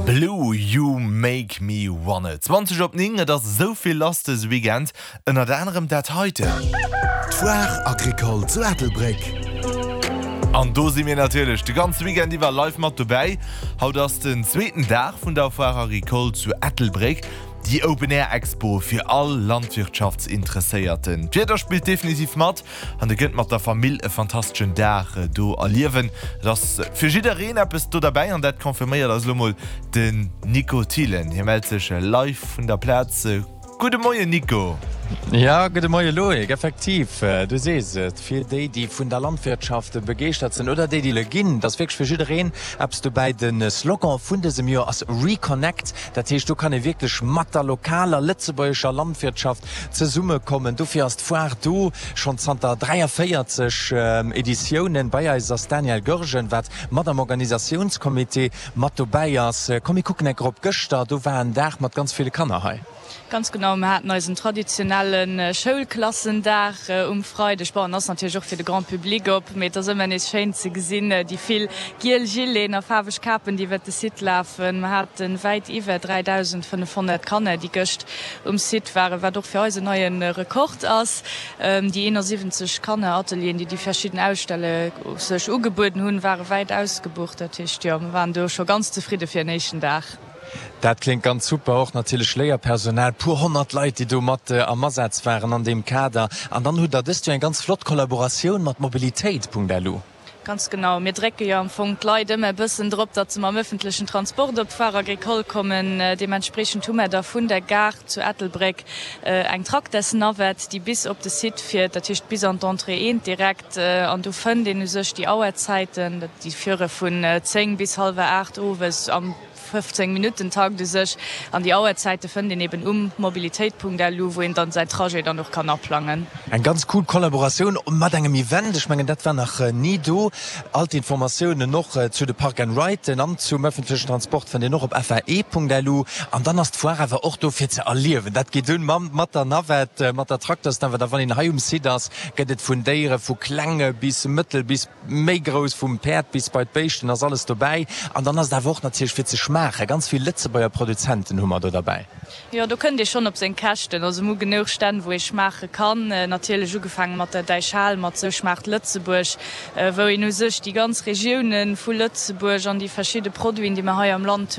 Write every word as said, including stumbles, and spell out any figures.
Blue You Make Me Wanna. zwanzeg op néng, et ass esou vill lass dëse Weekend, ënnert anerem dat heiten. D'Foire Agricole zu Ettelbréck. An do si mir natierlech de ganze Weekend iwwer live mat dobäi. Haut ass den zweeten Dag vun der Foire Agricole zu Ettelbréck, déi Open Air Expo fir all Landwirtschaftsinteresséierten. D'Wieder spillt definitiv mat an dir kënnt mat der Famill e fantasteschen Dag do erliewen. Et ass fir jiddereen eppes do derbäi an dat confirméiert eis elo mol den Nico Thielen. Hie mellt sech live vun der Plaz. Gudde Moien Nico. Ja, gudde Moie Loïc. Effektiv, du sees et, fir déi, déi vun der Landwirtschaft begeeschtert sinn oder déi, déi le ginn, et ass wierklech fir jiddereen eppes dobäi. De Slogan vun dësem Joer ass Reconnect, dat heescht, do kann ee wierklech mat der lokaler lëtzebuergescher Landwirtschaft zesummekommen. Dofir ass d'Foire do, schonn zanter dräiavéierzeg Editiounen. Bei eis ass d'Danièle Goergen, wat mat am Organisatiounscomité mat dobäi ass. Komm mir kucken enker op gëschter, do war en Dag mat ganz ville Kanner hei. Ganz genau, mir haten eisen traditionelle Schoulklassendag um Freideg. Bon, en ass natierlech och fir de Grand Public op, mee et ass ëmmer nees schéin ze gesinn, déi vill giel Gileten a faarweg Kapen, déi iwwert de Site lafen. Mir hate wäit iwwer dräidausendfënnefhonnert Kanner, déi gëscht um Site waren, wat och fir eis en neie Rekord ass. Déi eenansiwwenzeg Kanneratelieren, déi déi verschidden Ausstelle sech ugebueden hunn, ware wäit ausgebucht. Dat heescht, jo, mir waren do scho ganz zefridde fir en éischten Dag. Dat kléngt ganz super. Och natierlech Léierpersonal, puer honnert Leit, déi do mat am Asaz waren an deem Kader. An dann hutt Der dëst Joer eng ganz flott Kollaboratioun mat Mobilitéit.lu. Ganz genau. Mir drécke jo am Fong d'Leit ëmmer e bëssen drop, datt se mam ëffentlechen Transport op d'Foire Agricole kommen. Deementspreechend hu mer da vun der Gare zu Ettelbréck eng Tracteurs-Navette, déi bis op de Site fiert, dat heescht bis an d'Entrée eent direkt. An do fënnt een u sech déi Auerzäiten, déi fuere vun zéng bis hallwer aacht owes am fëffzéng Minutten Takt u sech. An déi Auerzäite fënnt een eben um mobilitéit.lu, wou een dann säin Trajet dann och kann aplangen. Eng ganz cool Kollaboratioun mat engem Event, ech mengen dat war nach ni do. All d'Informatiounen och zu de Park and Riden an zum ëffentlechen Transport fënnt een och op F A E Punkt L U. An dann ass d'Foire awer och do fir ze erliewen. Dat geet un mam mat der Navette, mat der Traktersnavette a wann een hei um Site ass, gëtt et vun Déiere vu klenge bis mëttel bis méi grouss, vum Päerd bis bei d'Béischten ass alles dobäi. An dann ass et awer och natierlech fir ze schmaachen. Ganz vill Lëtzebuerger Produzenten hu mer do derbäi. Jo, do kënnt ee schonn op seng Käschten. Also mir hu genuch Stänn, wou ee schmaache kann. Natierlech ugefaange mat der Däichhal, mat Sou schmaacht Lëtzebuerg, wou een u sech déi ganz Regioune vu Lëtzebuerg an déi verschidde Produiten, déi mer hei am Land hunn,